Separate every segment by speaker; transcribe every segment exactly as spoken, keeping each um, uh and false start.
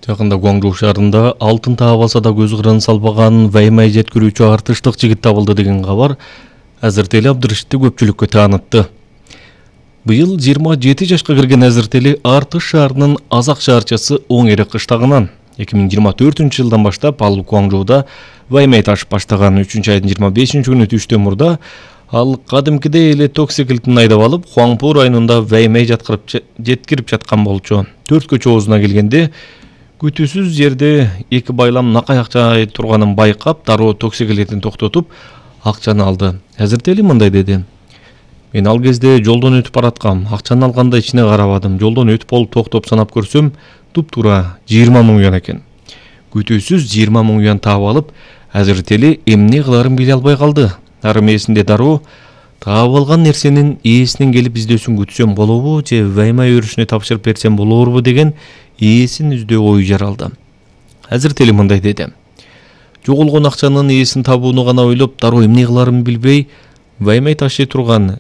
Speaker 1: Жакында Гуаңжоу шаарында алтын таап алса да көз кырын салбаган Ваймай жеткирүүчү артыштык жигит табылды деген кабар Азыртели Абдырышитти көпчүлүккө таанытты. Быйыл жыйырма жети жашка кирген Азыртели Артыш шаарынын Азак шаарчасы Оң Эрек кыштагынан эки миң жыйырма төртүнчү жылдан баштап ал Гуаңжоуда Ваймай ташып баштаган. Үчүнчү айдын жыйырма бешинчи күнү түштөн мурда ал кадимкидей эле токсиклтин айдап алып Хуаңпу районунда Ваймай жаткырып жеткирип жаткан болчу. Төрткө чоозуна келгенде күтүүсүз жерде эки байлам накай акча турганын байкап, дароо токсиклетин токтотуп, акчаны алды. Азыртели мындай деди: "Мен ал кезде жолдон өтүп бараткам, акчаны алганда ичине карабадым. Жолдон өтүп болуп токтоп санап көрсөм, туп-туура жыйырма миң юан экен. Күтүүсүз жыйырма миң юан таап алып, Азыртели эмне кыларын биле албай калды. Ары мээсинде дароо таап алган нерсенин ээсинин келип издөөсүн күтсөм болобу же Ваймай өрүшүнө тапшырып берсем болорбу деген ээсин издөө ою жаралды." Азыртели мындай деди: "Жоголгон акчанын ээсин табууну гана ойлоп, дароо эмне кыларын билбей, Ваймай ташый турган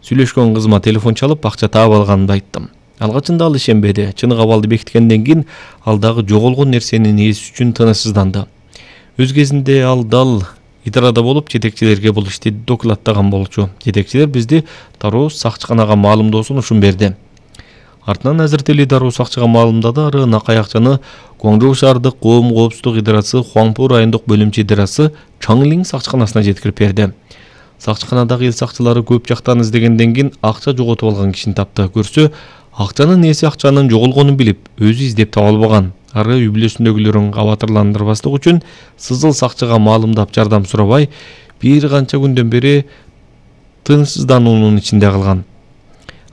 Speaker 1: сүйлөшкөн кызыма телефон чалып, акча таап алганымды айттым. Алгачында ал ишенбеди. Чыны кабалды бекиткенден кийин ал дагы жоголгон нерсенин ээси үчүн тынычсызданды. Өз кезинде ал дал идарада болуп, жетекчилерге бул ишти докладтаган болчу. Жетекчилер бизди дароо сакчыканага маалымдоосун ушун берди. Артынан Азыртели дароо сакчыга маалымдады. Ары накай акчаны Гуаңжоу шаардык коом коопсуздук идарасы Хуаңпу райондук бөлүмчө идарасы Чаңлин сакчыканасына жеткирип берди. Сакчыканадагы эл сакчылары көп жактан издегенден кийин акча жоготуп алган кишини тапты. Көрсө, акчанын ээси акчанын жоголгонун билип, өзү издеп таба албаган. Ары үй бүлөсүндөгүлөрүн кабатырландырбастык үчүн сызыл сакчыга маалымдап жардам сурабай, бир канча күндөн бери тынычсыздануунун ичинде калган.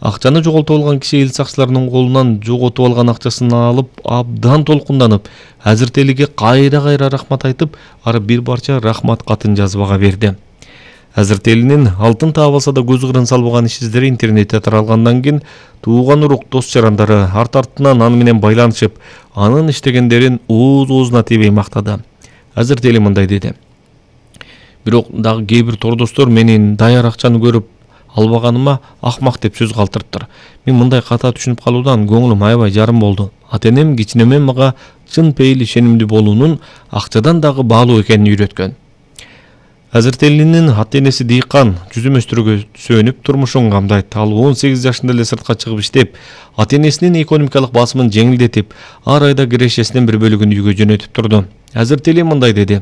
Speaker 1: Акчаны жоголтуп алган киши эл сакчыларынын колунан жоготуп алган акчасын алып, абдан толкунданып, Азыртелиге кайра-кайра рахмат айтып, ары бир барча рахмат катын жазып ага берди. Азыртелинин алтын таап алса да көз кырын салбаган иш издери интернетте таралгандан кийин тууган урук, дос жарандары арт-артынан аны менен байланышып, анын иштегендерин ооз-оозуна тийбей мактады. Азыртели мындай деди: "Бирок дагы кээ бир тордостор менин даяр акчаны көрүп албаганыма акмак деп сөз калтырыптыр. Мен мындай ката түшүнүп калуудан көңүлүм аябай жарым болду. Ата-энем, кичинемем мага чын пейил ишенимдүү болуунун акчадан дагы баалуу экенин үйрөткөн." Азыртелинин ата-энеси дыйкан, жүзөмөстүргө сөнүп турмушун камдайт. Ал он сегиз жашында эле сыртка чыгып иштеп, ата-энесинин экономикалык басымын жеңилдетип, ар айда кирешесинин бир бөлүгүн үйгө жөнөтүп турду. Азыртели мындай деди: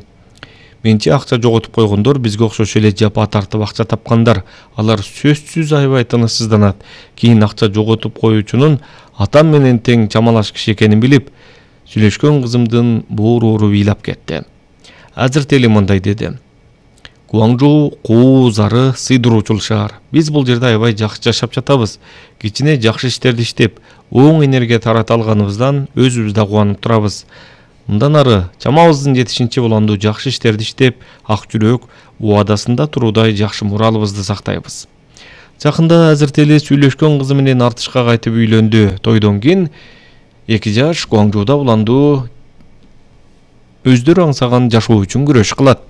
Speaker 1: "Менчи акча жоготуп койгондор бизге окшош эле жапа тартып акча тапкандар. Алар сөзсүз аябай тынычсызданат. Кийин акча жоготуп коюучунун атам менен тең чамалаш киши экенин билип, сүйлөшкөн кызымдын боору ыйлап кетти." Азыртели мындай деди: "Гуаңжоу кооз ары сыйдыруучул шаар. Биз бул жерде аябай жакшы жашап жатабыз. Кичине жакшы иштерди иштеп, оң энергия тарата алганыбыздан өзүбүз да кубанып турабыз. Мындан ары чамабыздын жетишинче уланду жакшы иштерди иштеп, ак жүрөк, убадасында туруудай жакшы муралыбызды сактайбыз." Жакында Азыртели сүйлөшкөн кызы менен Артышка кайтып үйлөндү. Тойдон кийин эки жаш Гуаңжоуда уланду өздөрү аңсаган жашоо үчүн күрөш кылат.